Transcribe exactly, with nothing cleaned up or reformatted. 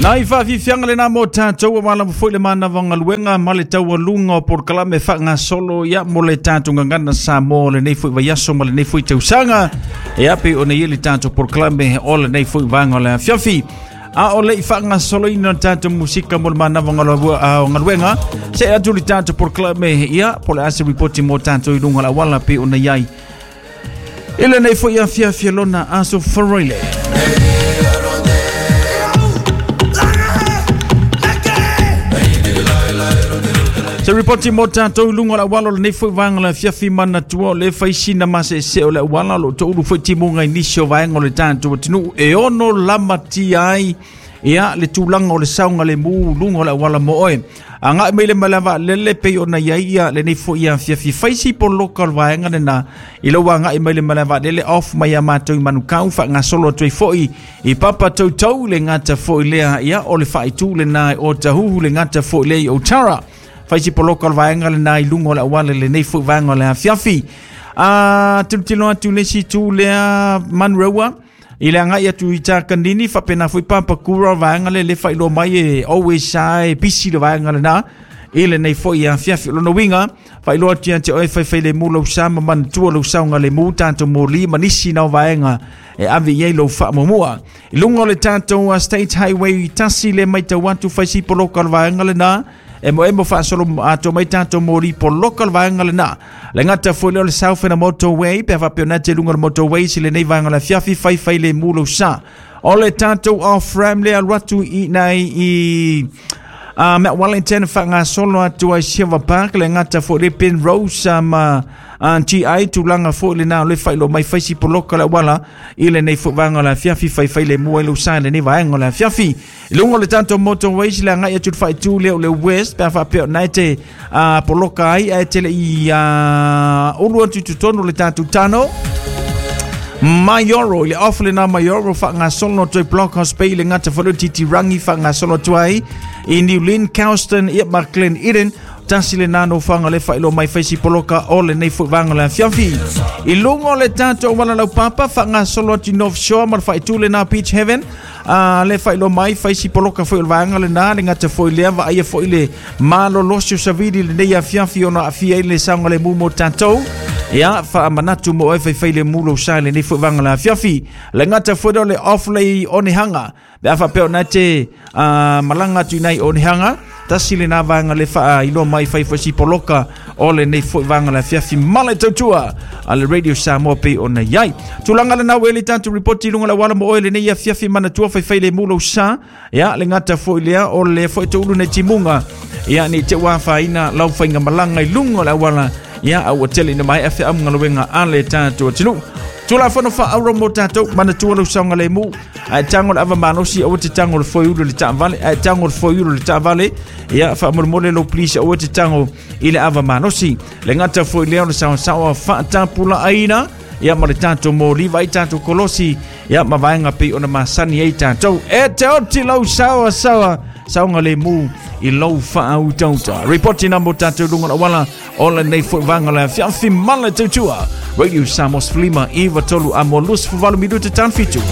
Nai whaafifianga le nā mō tātou a wala mawhoi le mānawa ngaluenga ma le taualuga o polokalame whaangasolo ia mo le tātou gagana Samoa o lenei foi vaiaso ma lenei foi tausaga e ape o nei le tātou polokalame o lenei foi vaega o le afiafi. A o le i whaangasoloina o tātou musika mo le mānawa ngaluenga se atu le tātou polokalame ia po le ase ripoti mo tātou i lunga la wala pe o nei ai. I lenei foi afiafi lona aso Faraile. Se ripoti mo tātou lunga la walo le nei foi vaega le afiafi manatua o le faisina masese o le wala lo toulu foi timuga i nisi o vaega o le tātou atunuu e ono lamatia ai ia le tulaga o le saoga le mu luga o le auala mo oe. Agaʻi mai le malae vaalele pei ona iai ia lenei foi afiafi faisi poloka o le vaega lena i lou agaʻi mai le malae vaalele off mai ia matou i Manukau faagasolo atu ai foi i Papa Toutou le gata foi lea ia o le faaitu lena o Tahuhu le gata foi lea i Otara. Faisi poloka o le vaega lena i luga o le auala lenei foi vaega o le afiafi. A tilotilo atu le isi itu lea Manurewa i le agai atu i Takanini faapena foi Papakura o vaega le le faailoa mai e always e pisi le vaega lena i lenei foi afiafi. O lona uiga faailoa atu ia te oe faifailemu lou sa ma manatua lou saoga lemu tatou moli ma nisi na o vaega e ave i ai lou faamuamua. I luga o le tatou State Highway tasi le maitau atu faisi poloka o le vaega lena e mo e mo faasolo ato mai tātou moli poloka le vaega lena. Le gata foi lea o le South and Motorway pe faapea ona te luga o le motorway si lenei vaega o le afiafi faifai lemu lou sa. O le tātou off-ramp le alu atu i nai i uh, Mount Wellington faagasolo atu ai Silver Park le gata foi le Penrose ma uh, G I tulaga foi lena o le faailoa mai faisi poloka le auala i lenei foi vaega o le afiafi faifai lemu ai lou sa i lenei vaega o le afiafi. I luga o le tātou motorway si le agai atu le faaitu lea o le West pe a faapea ona e te uh, poloka ai ae tele i uh, ulu atu i totonu o le tātou tano Maioro, i le off lena Maioro faagasolo atu ai Blockhouse Bay le gata foi lea o Titirangi faagasolo atu ai i New Lynn, Couston ia ma Glen Eden. Tasi le nano whanga le whailo mai faisi poloka o le nei foi vaega o le afiafi. I luga o le tātou auala laupapa faagasolo atu i North Shore ma le faaitu lena Beach Heaven. Uh, le whailo mai faisi poloka foi o le vaega lena le gata foi lea vaaia foi le malolosi o savili lenei afiafi ona aafia ai le saoga lemu mo tātou. Ia faamanatu mo oe faifai lemu lou sa i lenei foi vaega o le afiafi. Le gata foi lea o le off le i Onehanga. Pe a faapea ona e te uh, malaga atu i nai Onehanga tasi lena vaega le faailoa mai fai foi si poloka o lenei foi vaega o le afiafi ma le tautua a le Radio Samoa pei ona iai. Tulaga lena ua e le tatou ripoti i luga o le auala mo oe lenei afiafi manatua faifai lemu lou sa. Ia le gata foi lea o le foi toulu nei timuga ia nei te ua afaina lau faigamalaga i luga o le auala ia a ua tele ina maea feamugaluega a le tatou atunuu. Tulafono faauro mo tātou manatua lou saoga lemu ae tago le ava malosi aua te tago le foeulu i le taavale ae tago le foeulu i le taavale ia faamolemole lou please aua te tago i le ava malosi. Le gata foi lea o le saosaoa faatapulaaina ia ma le tātou moli vai tātou kolosi ia ma vaega pei ona masani ai tātou. E te oti lau saoa saoa saoga lemu i lou faautauta. Ripoti na mo tātou luga o le auala o lenei foi vaega o le afiafi ma le tautua. Radio Samoa sefululima iva tolu amo luasefuluvalu minuta tano fitu.